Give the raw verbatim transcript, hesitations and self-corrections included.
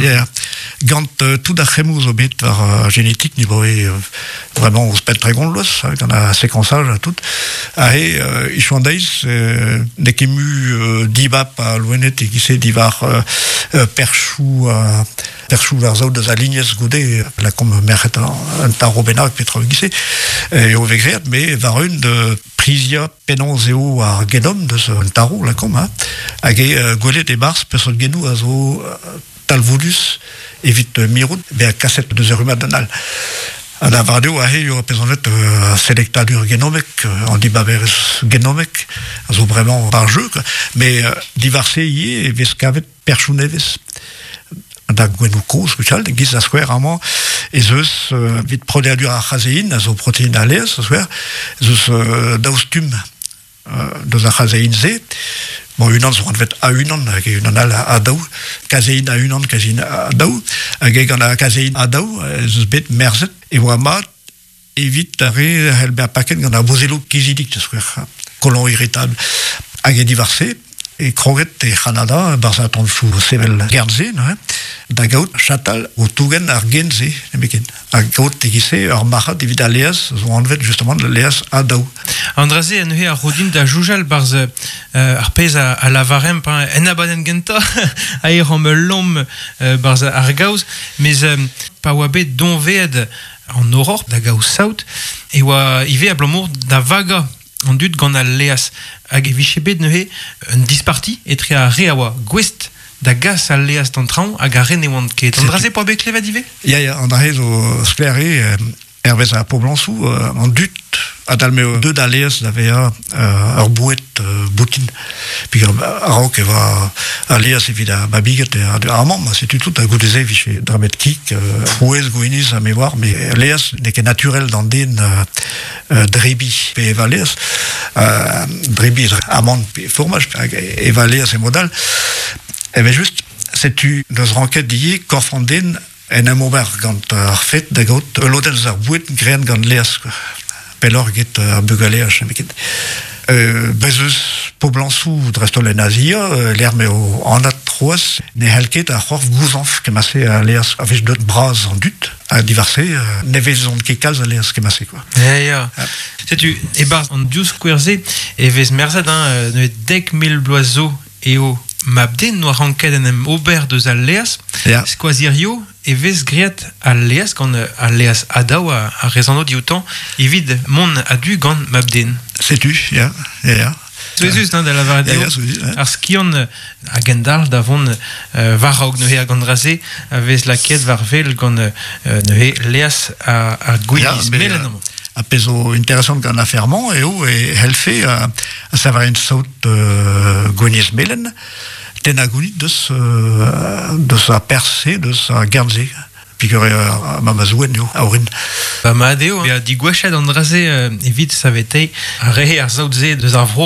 Ya, gant euh, tout ar c'hemmoù zo bet war uh, genetik ni boe euh, vraiment ouzhpenn tregont vloaz, hein, gant ar séquençage ha tout. Ha he, euh, ichou an deiz, euh, n'eo ket mu euh, dibab a loened e giz-se diwar euh, euh, perchoù euh, perchoù war zaout deus a lignez goude, lakomp merc'hed un taro bennak petra giz-se, eo vez graet, me war un de prizia penaos eo ar genom deus un taro, lakomp, hein, hag e euh, gwelet e-barzh peseurt genoù a zo euh, talvoudus evit euh, mirout bezañ kaset deus ur rummad d'an all. Ha da war eo aze eo pezonet euh, selektadur genomek, euh, an dibaberezh genomek, a zo bremañ par jeu, quoi. Mais euh, diwar-se ivez e vez kavet perchoù nevez. Da gouennoù kozh gwechall, giz a skouer amañ, ez eus euh, evit prodeadur ar c'hazein, a zo protein a laezh, a skouer, ez eus euh, daou stumm euh, deus ar c'hazein-se. Bon, unan zo anvet a unan, hag unan all a daou, kazein a unan, kazein a daou, hag e gant ar kazein a daou, ez eus bet merzet, e oa mat evit ar re c'hell bezañ paket gant ar bozelloù kizidik, da skouer, colon irritable. Hag e diwar-se, e kroget e C'hanada, barzh atantoù sevel gern-se, neuze, da gaout chatal o tougen ar gen-se, nemetken. Hag gaout e-giz-se ur marc'had evit al laezh, zo anvet justement al laezh a daou. An dra-se neuze a ro din da soñjal barzh euh, ar pezh a, a lavaremp, hein, en abadenn gentañ, a e ran ul lomm euh, barzh ar gaoz, mes euh, pa oa bet doñvaet an Aurore da gaout saout, e oa ivez abalamour da vagañ an dud gant al laezh hag e vije bet neuze un disparti etre ar re a oa gouest da gas al laezh d'an traoñ hag ar re ne oant ket. An dra-se poa bet klevet ivez? Ya, ya, an dra-se zo sklaer eo, euh, hervez ar poblañsoù, euh, an dud adal m'eo deuet al laezh da vezañ euh, ur boued euh, boutin. Puis a-raok e oa al laezh evit ar babiged e ar mamm, setu tout, ha goude-se e vije debret kig, euh, frouezh, gwinizh ha me oar, met laezh n'eo ket naturel d'an den euh, euh, drebiñ pe evañ laezh, euh, drebiñ amann pe formaj, hag evañ laezh e mod all. Evel just, setu neus ranket ivez korf an den en em ober gant ar fet da gaout ul lodenn eus ar boued graet gant laezh, quoi. Pelloc'h get ar bugaleaj, nemet ket. Euh, bez eus poblañsoù dreist-holl en Azia, euh, lec'h m'eo anat c'hoazh, ne c'hell ket ar c'horf gouzañv kement-se a laezh a vez deut bras an dud, ha diwar-se, euh, ne vezont ket kalz a laezh kement-se, quoi. Ya, ya. Setu, e-barzh an div skouer-se e vez merzet, hein, neuze dek mil bloaz zo eo mab-den noa ranket en em ober deus al laezh. Ya. Skoaz hirio e vez graet al laezh gant al laezh a daou a, a rezano dioutañ evit mont a-du gant mab-den. Setu, ya, ya, ya. Souezhus, hein, da lavaret Ya, eo. ya, souezhus, ya. Ar skiant a gendalc'h da vont euh, war-raok neuze hag an dra-se a vez lakaet war wel gant euh, neuze laezh ar, ar gwinizh Ya, mais, melen euh, amañ. A pezh zo interesant gant afer-mañ eo e c'hellfe euh, a savarien saout euh, gwinizh melen, tennañ gounid deus, euh, deus ar perzh-se, deus ar gern-se. Peogwir eo ar memes ouenn eo, a orin. Ba mat eo, bezañ digwechet an dra-se euh, evit saveteiñ ar re ar saout-se deus ar vro.